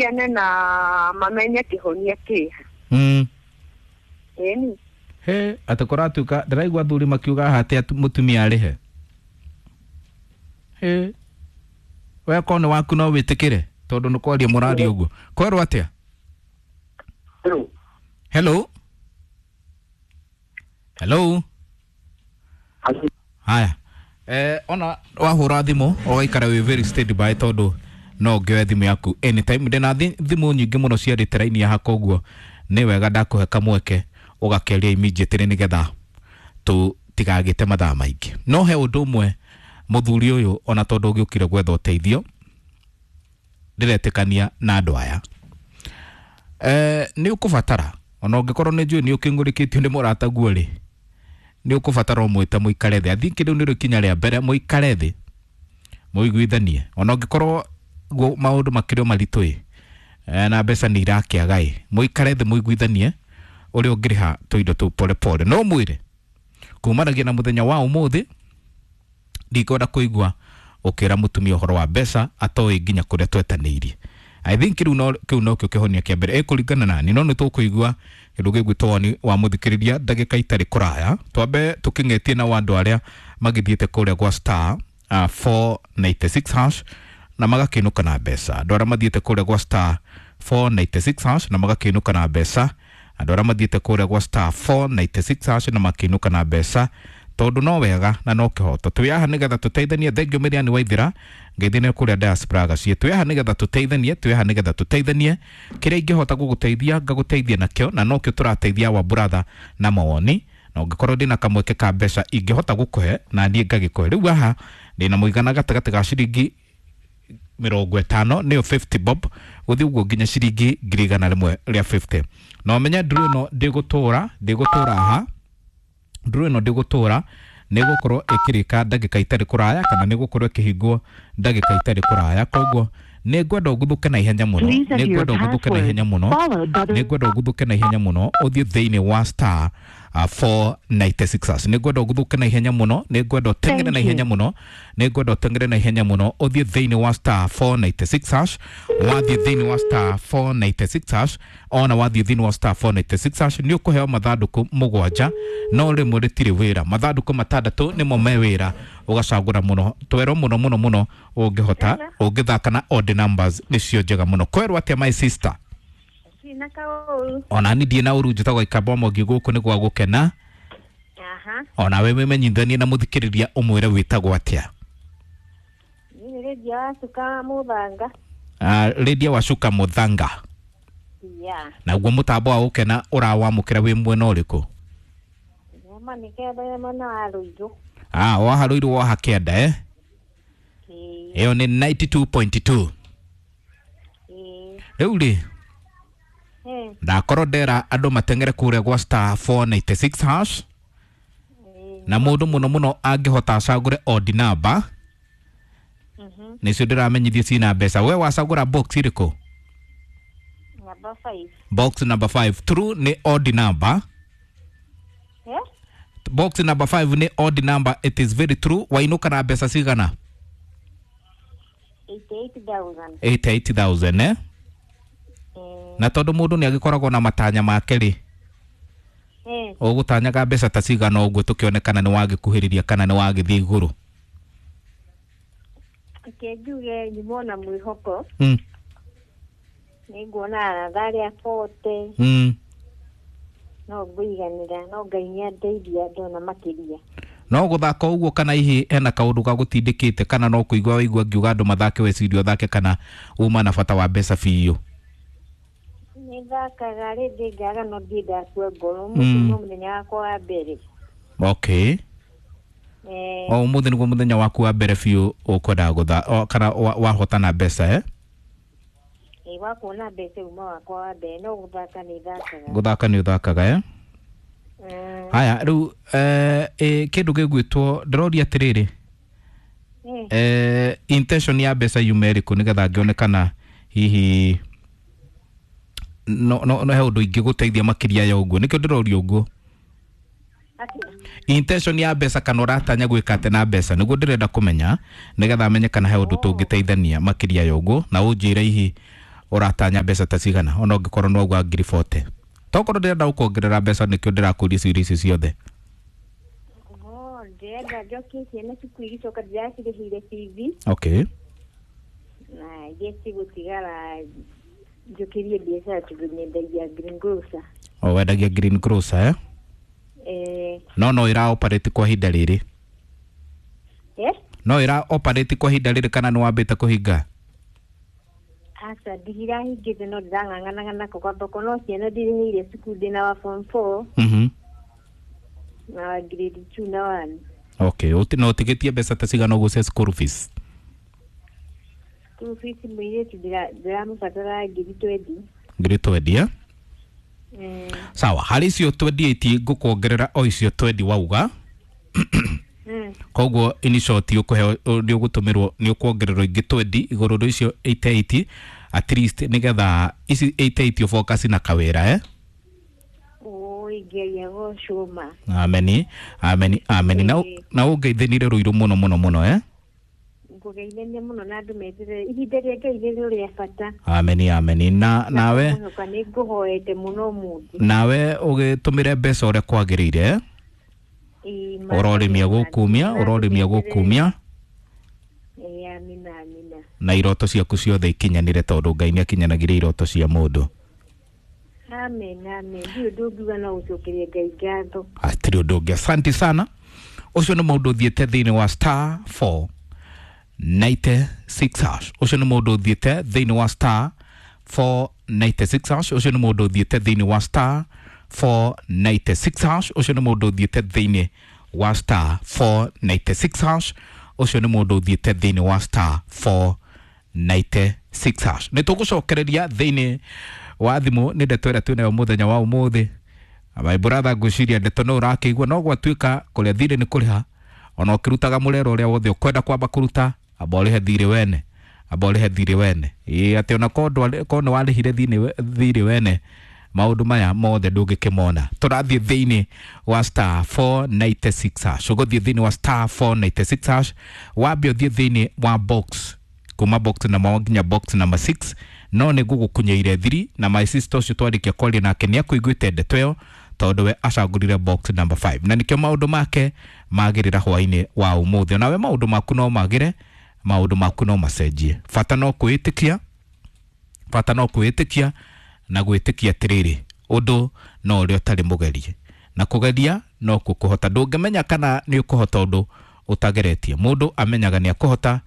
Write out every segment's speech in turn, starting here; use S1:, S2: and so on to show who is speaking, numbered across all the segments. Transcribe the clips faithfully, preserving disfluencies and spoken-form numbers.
S1: Kene na mamenye kĩhonia kĩha.
S2: Mm.
S1: Ĩni.
S2: He atĩ kũratuĩka ndĩraigua athuri makiuga haha atĩ mũtumia arĩhe. He we korwo nĩ waku no wĩtĩkĩre tondũ nĩ kwaria mũraria ũguo. Kwerwo atĩa?
S3: Hello.
S2: Hello. Hello. Haya. Eh, ona wahũra thimũ ũgaikara wĩ very steady by tondũ no ngĩoe thimũ yaku anytime. Ndĩna thimũ nyingĩ mũno ciarĩte raini haha, koguo nĩ wega ndakũhe kamweke ũgakeria immediately nĩgetha tũtigagĩte mathaa maingĩ. No he ũndũ ũmwe mũthuri ũyũ ona tondũ ũgĩũkire gwetha ũteithio ndĩretĩkania na andũ aya. Eh, nĩ ũkũbatara ona ũngĩkorwo nĩ njũĩ nĩ ũkĩng'ũrĩkĩtio nĩ mũrataguo rĩ, nĩ ũkũbatara ũmwĩte mũikare thĩ. I think rĩu nĩrĩo ikinya rĩa mbere, mũikare thĩ mũiguithanie ona ũngĩkorwo maũndũ makĩrĩ o maritũ ĩ na mbeca nĩ irakĩaga ĩ, mũikare thĩ mũiguithanie ũrĩa ũngĩrĩha tũindo tũu pole pole. No mwĩre kumanagia na mũthenya wa ũmũthĩ ndikwenda kũigua ũkĩra mũtumia ũhoro wa mbeca atoĩ nginya kũrĩa twetanĩirie. I think rĩu no kĩu nokĩo kĩhonia kĩa mbere ĩkũringana nani, no nĩ tũkũigua kĩndũ gĩgwĩtwo woni wa mũthikĩrĩria ndagĩka itarĩ kũraya. Twambe tũkĩng'etie na andũ arĩa magĩthiĩte kũrĩa gwa star uh, four ninety-six hash na magakĩinũka na mbeca. Andũ arĩa mathiĩte kũrĩa gwa star four ninety-six hash na magakĩinũka na mbeca. Andũ arĩa mathiĩte kũrĩa gwa star four ninety-six hash na makĩinũka na mbeca tondũ no wega na no kĩhoto. Twĩ haha nĩgetha tũteithanie. Thengiũ Mĩriani Waithĩra ngeithie kũrĩa diaspora gaciĩ. Twĩ haha nĩgetha tũteithanie, twĩ haha nĩgetha tũteithanie. Kĩrĩa ingĩhota gũgũteithia ngagũteithia nakĩo, na nokĩo tũrateithia wa brother na mawoni. Na ũngĩkorwo ndĩna kamweke ka mbeca ingĩhota gũkũhe na niĩ ngagĩkũhe. Rĩu haha ndĩna mũigana gatagatĩ ga ciringi mĩrongo ĩtano nĩyo fifty bob gũthiĩ ũguo nginya ciringi ngiri igana rĩmwe rĩa fifty. Na ũmenye nduru ĩno ndĩgũtũra, ndĩgũtũra haha, nduru ĩno ndĩgũtũra, nĩgũkorwo ĩkĩrĩka ndagĩka itarĩ kũraya kana nĩgũkorwo ĩkĩhingwo ndagĩka itarĩ kũraya. Koguo nĩngwenda ũguthũke na ihenya mũno, nĩngwenda ũguthũke na ihenya mũno, nĩngwenda ũguthũke na ihenya mũno ũthiĩ thĩinĩ wa star uh, four ninety-six hash. Nĩngwenda ũguthũke na ihenya mũno, nĩngwenda ũteng'ere na ihenya mũno, nĩngwenda ũteng'ere na ihenya mũno ũthiĩ thĩinĩ wa star four ninety-six hash. Wathiĩ thĩinĩ wa star four ninety-six hash, ona wathiĩ thĩinĩ wa star four ninety-six hash nĩ ũkũheo mathandũkũ mũgwanja, no rĩmwe rĩtirĩ wĩra. Mathandũkũ matandatũ nĩmo me wĩra, ũgacagũra mũno twerwo mũno mũno mũno ũngĩhota ũngĩthaka na odd numbers nĩcio njega mũno. Kwerwo atĩa my sister? Ona ni ndiĩ na ũru, njĩtagwo Ikamba Mwangi, gũkũ nĩ gwa gũkena.
S1: Aha.
S2: Ona we wĩmenyithanie na mũthikĩrĩria ũmwĩre wĩtagwo atĩa.
S1: Niĩ Lydia Wacuka Mũthanga.
S2: Ah, Lydia Wacuka Mũthanga.
S1: Yeah.
S2: Naguo mũtambo wa gũkena ũrawamũkĩra wĩ mwena ũrĩkũ?
S1: Nyama nĩ kĩenda mwena wa Rũirũ.
S2: Ah, waha Rũirũ waha kĩanda eh? Ĩyo nĩ ninety-two point two. Rĩu rĩ ndakorwo ndera andũ mateng'ere kũrĩa gwa star four ninety-six hash na mũndũ mũno mũno angĩhota acagũre odd number nĩcio ndĩramenyithie cina mbeca. We wacagũra box ĩrĩkũ?
S1: Number five.
S2: Box number five. True nĩ odd number.
S1: Eh?
S2: Box number five nĩ odd number, it is very true. Wainũka na mbeca cigana?
S1: eighty-eight thousand.
S2: eighty-eight thousand eh? Na tondũ mũndũ nĩ agĩkoragwo na matanya make rĩ, ũgũtanyaga mbeca ta cigana ũguo tũkĩone kana nĩ wagĩkuhĩrĩria kana nĩ wagĩthiĩ igũrũ?
S1: Reke njuge nyumwo na mwĩhoko.
S2: Mm.
S1: Nĩnguona aratha forty.
S2: Mm.
S1: No ngũiganĩra, no Ngai nĩandeithia ndona makĩria.
S2: No gũthaka ũguo kana hihi hena kaũndũ gagũtindĩkĩte kana no kũigua waigua ngiuga andũ mathake weciria ũthake kana uma na bata wa mbeca biũ?
S1: Nĩthakaga rĩngĩ ngaga no ndirĩ ndakua ngoro. Ũmũthĩ nĩguo mũthenya wakwa wa mbere.
S2: Okay.
S1: Eh.
S2: O ũmũthĩ nĩguo mũthenya waku wa mbere biũ ũkwendaga gũtha kana wahotana mbeca eh?
S1: Ĩ wa kuona mbeca uma wakwa wa mbere, no gũthaka nĩthakaga.
S2: Gũthaka nĩ ũthakaga eh? Haya rĩu eh kĩndũ gĩgwĩtwo ndĩroria atĩrĩrĩ, eh intention ya mbeca yuma ĩrĩkũ nĩgetha ngĩone kana hihi no no no he ũndũ ingĩgũteithia makĩria ya ũguo, nĩkĩo ndĩroria ũguo. Intention ya mbeca kana ũratanya gwĩka atĩa na mbeca nĩguo ndĩrenda kũmenya nĩgetha menye kana he ũndũ tũngĩteithania makĩria ya ũguo, na ũnjĩre hihi Ũratanya mbeca ta cigana ona ũngĩkorwo no ũgwa ngiri forty? Tokorwo ndĩrenda gũkuongerera mbeca nĩkĩo ndĩrakũria ciũria icio ciothe.
S1: Oh, ndĩrenda njokie ciana cukuru igĩcoka ndĩracirĩhĩire bithi.
S2: Okay.
S1: Na iria cigũtigara njũkĩrie biacara tondũ nyendagia green grocer.
S2: O wendagia green grocer eh?
S1: Eh.
S2: No no ĩra operate kwa ihinda rĩrĩ?
S1: Eh?
S2: No ĩra operate kwa ihinda rĩrĩ kana nĩ wambĩte kũhinga?
S1: Aca, ndirahingĩte no ndĩrang'ang'anaga nako kwa thoko no ciana ndirĩhĩire cukuru ndĩna wa form four.
S2: Mhm.
S1: Na wa grade two na one.
S2: Okay, uti no ũtigĩtie mbeca ta cigana ũguo cia school fees?
S1: School fees mũirĩtu ndĩramũbatara ngiri twenty.
S2: Ngiri twenty eh?
S1: Mm.
S2: Sawa, harĩ icio twenty eight ngũkuongerera o icio twenty wauga.
S1: Mm.
S2: Koguo in short ũkũheo nĩ ũgũtũmĩrwo nĩ ũkuongererwo ingĩ twenty igũrũ rĩa icio eighty eight at least nĩgetha ici eighty eight ũfocus na kawĩra eh?
S1: Oi, ngeria gũcũma.
S2: Ameni, ameni, ameni. Na na ũngeithanire rũirũ mũno mũno mũno eh?
S1: Ngũgeithania mũno na andũ meterere ihinda rĩa Ngai nĩrĩo rĩa bata.
S2: Ameni, ameni. Na nawe
S1: nĩ ngũhoete mũno ũmũthĩ.
S2: Nawe ũgĩtũmĩre mbeca ũrĩa kwagĩrĩire eh? Ũrorĩmia gũkumia, ũrorĩmia gũkumia.
S1: Amina, amina.
S2: Na iroto ciaku ciothe ikinyanĩre tondũ Ngai nĩ akinyanagĩria iroto cia mũndũ.
S1: Amen, amen. Ndirĩ ũndũ ũngiuga no gũcokeria Ngai ngatho.
S2: Hatirĩ ũndũ ũngĩ. Asante sana. Ũcio nĩ mũndũ ũthiĩte thĩinĩ wa star four ninety six hash. Ũcio nĩ mũndũ ũthiĩte thĩinĩ wa star four ninety six hash. Ũcio nĩ mũndũ ũthiĩte thĩinĩ wa star four ninety six hash. Ũcio nĩ mũndũ ũthiĩte thĩinĩ wa star four ninety six hash. Ũcio nĩ mũndũ ũthiĩte thĩinĩ wa star four ninety six hash. Nĩ tũgũcokereria thĩinĩ wa thimũ nĩ ndeto ĩrĩa twĩnayo mũthenya wa ũmũthĩ. My brother ngwĩciria ndeto no ũrakĩigua no gwatuĩka kũrĩa thirĩ nĩ kũrĩha ona ũkĩrutaga mũrero ũrĩa wothe ũkwenda kwamba kũruta amba ũrĩhe thirĩ wene, amba ũrĩhe thirĩ wene. Ĩĩ atĩ ona korwo nĩ warĩhire thirĩ wene maũndũ maya mothe ndũngĩkĩmona. Tũrathiĩ thĩinĩ wa star four ninety six hash. Ũgũthiĩ thĩinĩ wa star four ninety six hash wambe ũthiĩ thĩinĩ wa box kuma box number one nginya box number six no nĩ ngũgũkunyeire thiri na my sister ũcio twarĩkia kwaria nake nĩ akũiguĩte ndeto ĩyo tondũ we acagũrire box number five na nĩkĩo maũndũ make magĩrĩra hwainĩ wa ũmũthĩ. Nawe maũndũ maku no magĩre, maũndũ maku no macenjie. Bata no kwĩĩtĩkia, bata no kwĩĩtĩkia na gwĩtĩkia atĩrĩrĩ ũndũ no ũrĩa ũtarĩ mũgerie na kũgeria no kũhota. Ndũngĩmenya kana nĩ ũkũhota ũndũ ũtageretie. Mũndũ amenyaga nĩ akũhota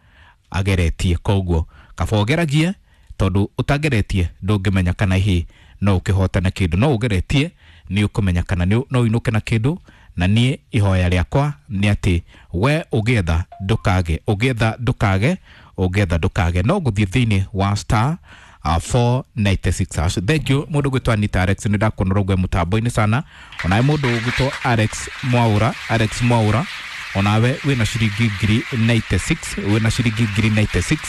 S2: ageretie. Koguo kaba ũgeragie tondũ ũtageretie ndũngĩmenya kana hihi no ũkĩhota na kĩndũ. No ũgeretie nĩ ũkũmenya kana no ũinũke na kĩndũ. Na niĩ ihoya rĩakwa nĩ atĩ we ũgĩetha ndũkage, ũgĩetha ndũkage, ũgĩetha ndũkage. No gũthiĩ thĩinĩ wa star Uh, four ninety six hash. Thank you mũndũ gwĩtwo Anita Alex nĩ ndakuona ũrauga mũtambo-inĩ sana. Onawe mũndũ gwĩtwo Alex Mwaura, Alex Mwaura onawe wĩna ciringi ngiri ninety six, wĩna ciringi ngiri ninety six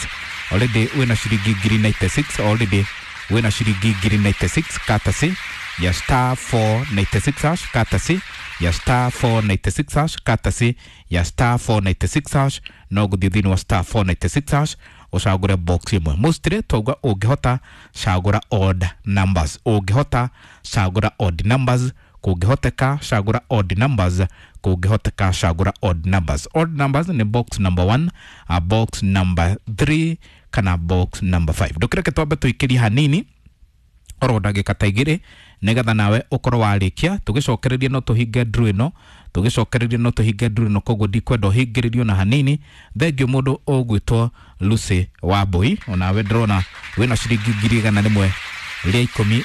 S2: already, wĩna ciringi ngiri ninety six already, wĩna ciringi ngiri ninety six courtesy ya star four ninety six hash, courtesy ya star four ninety six hash, courtesy ya star four ninety six hash. No gũthiĩ thĩinĩ wa star four ninety six hash ũcagũre box ĩmwe. Mostly twauga ũngĩhota cagũra odd numbers, ũngĩhota cagũra odd numbers, kũngĩhoteka cagũra odd numbers, kũngĩhoteka cagũra odd numbers. Odd numbers nĩ box number one, a box number three kana box number five. Ndũkĩreke twambe tũikĩrie hanini oro ndagĩka ta igĩrĩ nĩgetha nawe ũkorwo warĩkia. Tũgĩcokererie no tũhinge draw ĩno, tũgĩcokererie no tũhinge draw ĩno, koguo ndikwenda ũhingĩrĩrio na hanini. Thengiũ mũndũ ũgwĩtwo Lucy Wambui, onawe ndĩrona wĩna ciringi ngiri igana rĩmwe rĩa ikũmi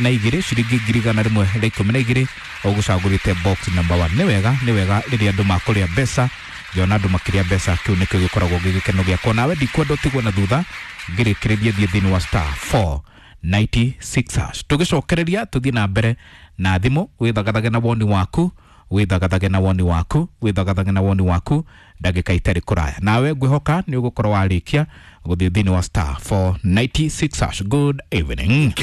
S2: na igĩrĩ, ciringi ngiri igana rĩmwe rĩa ikũmi na igĩrĩ ũgũcagũrĩte box number one. Nĩ wega, nĩ wega rĩrĩa andũ makũrĩa mbeca, ngĩona andũ makĩrĩa mbeca kĩu nĩkĩo gĩkoragwo gĩ gĩkeno gĩakwa. Nawe ndikwenda ũtigwo na thutha, ngĩrĩkĩrĩrie thiĩ thĩinĩ wa star four ninety six hash. Tũgĩcokereria tũthiĩ na mbere na thimũ, wĩthagathage na woni waku, wĩthagathage na woni waku, wĩthagathage na woni waku ndagĩka itarĩ kũraya. Nawe ngwĩhoka nĩ ũgũkorwo warĩkia gũthiĩ thĩinĩ wa star four ninety six hash. Good evening.